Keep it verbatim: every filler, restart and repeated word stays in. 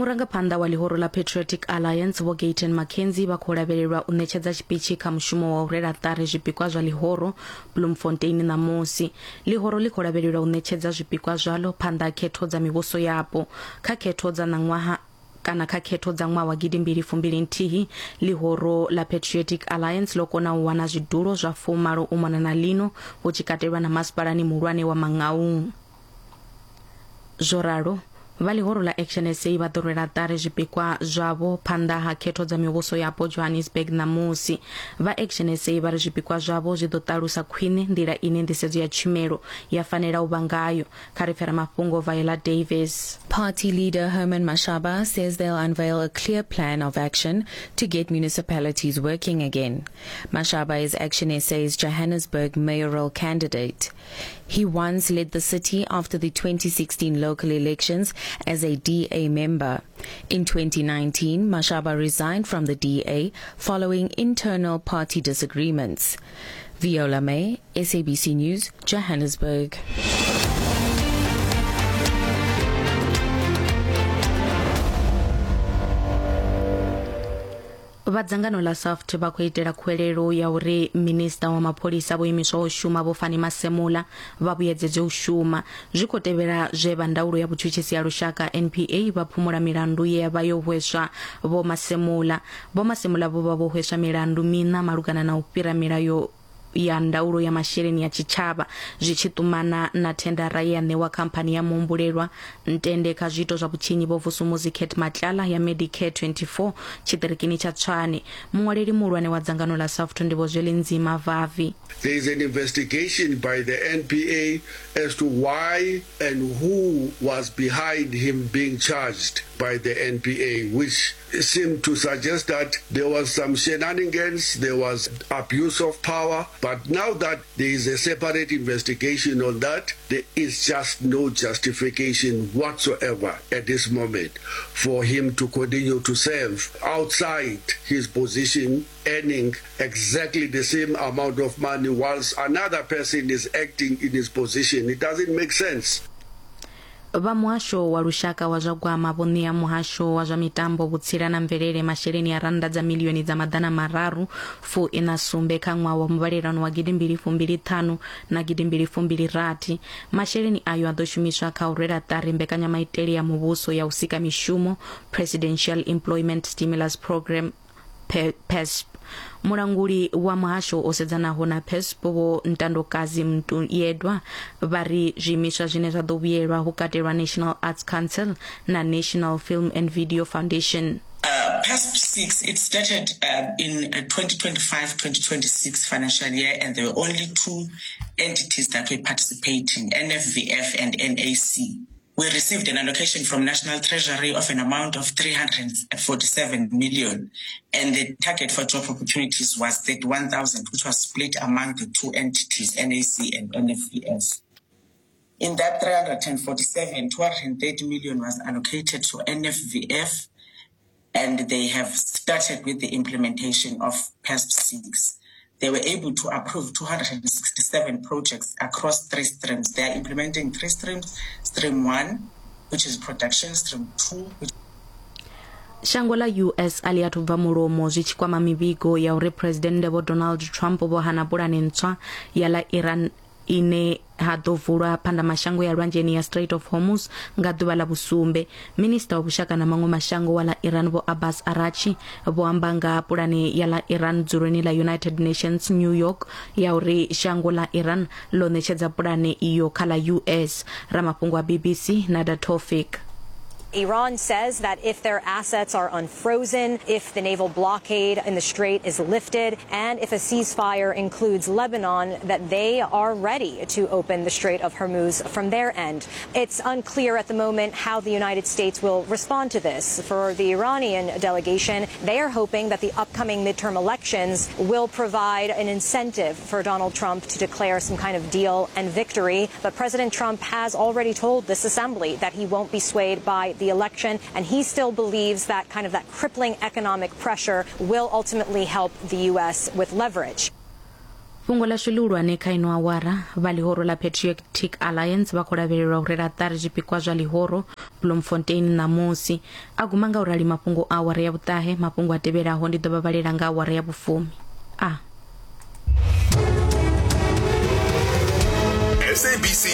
Murangaphanḓa wa ḽihoro ḽa Patriotic Alliance Vho Gayton McKenzie vha khou lavhelelwa u ṋetshedza tshipitshi kha mushumo wa u rwela ṱari zwipikwa zwa ḽihoro Bloemfontein ṋamusi. Ḽihoro ḽi khou lavhelelwa u ṋetshedza zwipikwa zwalo phanḓa ha khetho dza mivhuso yapo. Kha khetho dza ṋaṅwaha kana kha khetho dza ṅwaha wa gidimbili fumbili nthihi, ḽihoro ḽa Patriotic Alliance ḽo kona u wana zwidulo zwa fumalo u mona na ḽino, hu tshi katelwa na masipalani muhulwane wa Mangaung. Zwo ralo, vha ḽihoro ḽa Action S A vha ḓo rwela ṱari zwipikwa zwavho phanḓa ha khetho dza mivhuso yapo Johannesburg ṋamusi. Vha Action S A vha ri zwipikwa zwavho zwi ḓo ṱalusa khwine nḓila ine nḓisedzo ya tshumelo ya fanela u vha ngayo. Kha ri pfera mafhungo Viola Davis. Party leader Herman Mashaba says they'll unveil a clear plan of action to get municipalities working again. Mashaba is Action S A's Johannesburg mayoral candidate. He once led the city after the twenty sixteen local elections as a D A member. In twenty nineteen, Mashaba resigned from the D A following internal party disagreements. Viola May, S A B C News, Johannesburg. Vha dzangano ḽa SAFT vha khou itela khuwelelo ya uri minista wa mapholisa vho imiswaho u shuma Vho Fannie Masemola vha vhuyedzedze u shuma. Zwi khou tevhela zwe vha ndaulo ya vhutshutshisi ya lushaka N P A vha phumula milandu ye ya vha yo hweswa Vho Masemola. Vho Masemola vho vha vho hweswa milandu miṋa malugana na u fhira milayo ya ndaulo ya masheleni ya tshitshavha zwi tshi ṱumana na thendara ye ya ṋewa khamphani ya muhumbulelwa Ntende kha zwiito zwa vhutshinyi Vho Vusumuzi Cat Matlala ya Medicare twenty-four tshiṱirikini tsha Tshwane. Muṅwaleli muhulwane wa dzangano ḽa SAFTU ndi Vho Zwelinzima Vavi. There is an investigation by the N P A as to why and who was behind him being charged by the N P A, which seemed to suggest that there was some shenanigans, there was abuse of power. But now that there is a separate investigation on that, there is just no justification whatsoever at this moment for him to continue to serve outside his position, earning exactly the same amount of money whilst another person is acting in his position. It doesn't make sense. Vha muhasho wa lushaka wa zwa gwama vho ṋea muhasho wa zwa mitambo, vhutsila na mvelele masheleni a rannda dza milioni dza maḓana mararu fu ina sumbe kha ṅwaha wa muvhalelano wa gidimbili fumbili ṱhanu na gidimbili fumbili rathi. Masheleni ayo a ḓo shumiswa kha u rwela ṱari mbekanyamaitele ya muvhuso ya u sika mishumo, Presidential Employment Stimulus Program P S P. Mulanguli wa muhasho o sedzanaho na P S P Vho Ntandokazi Mntuyedwa vha ri zwiimiswa zwine zwa ḓo vhuyelwa hu katelwa National Arts Council na National Film and Video Foundation. Uh, P S P six, it started uh, in twenty twenty-five twenty twenty-six financial year, and there were only two entities that were participating, N F V F and N A C. We received an allocation from National Treasury of an amount of three hundred forty-seven million, and the target for job opportunities was thirty-one thousand, which was split among the two entities, N A C and N F V F. In that three hundred forty-seven, two hundred thirty million was allocated to N F V F, and they have started with the implementation of P S P six. They were able to approve two hundred sixty-seven projects across three streams. They are implementing three streams: stream one, which is production, stream two, which Shango ḽa U S a ḽi athu bva mulomo zwi tshi kwama mivhigo ya uri Presidennde Vho Donald Trump vho hana pulane ntswa ya ḽa Iran ine ha ḓo vulwa phandamashango ya lwanzheni ya Strait of Hormuz nga ḓuvha ḽa vhusumbe. Minista wa vhushaka na maṅwe mashango wa ḽa Iran Vho Abbas Arachi vho amba nga pulane ya ḽa Iran dzuloni ḽa United Nations New York ya uri shango ḽa Iran ḽo ṋetshedza pulane iyo kha ḽa U S. Ramafhungo wa B B C Nada Tofik. Iran says that if their assets are unfrozen, if the naval blockade in the strait is lifted, and if a ceasefire includes Lebanon, that they are ready to open the Strait of Hormuz from their end. It's unclear at the moment how the United States will respond to this. For the Iranian delegation, they are hoping that the upcoming midterm elections will provide an incentive for Donald Trump to declare some kind of deal and victory. But President Trump has already told this assembly that he won't be swayed by the election, and he still believes that kind of that crippling economic pressure will ultimately help the U S with leverage. Fhungo ḽashu ḽihulwane kha ino awara, vha ḽihoro ḽa Patriotic Alliance vha khou lavhelelwa u rwela ṱari zwipikwa zwa ḽihoro Bloemfontein ṋamusi. A guma nga u rali mafhungo a awara ya vhuṱahe, mafhungo a tevhelaho ndi ḓo vha vhalela nga awara ya vhufumi. A S A B C.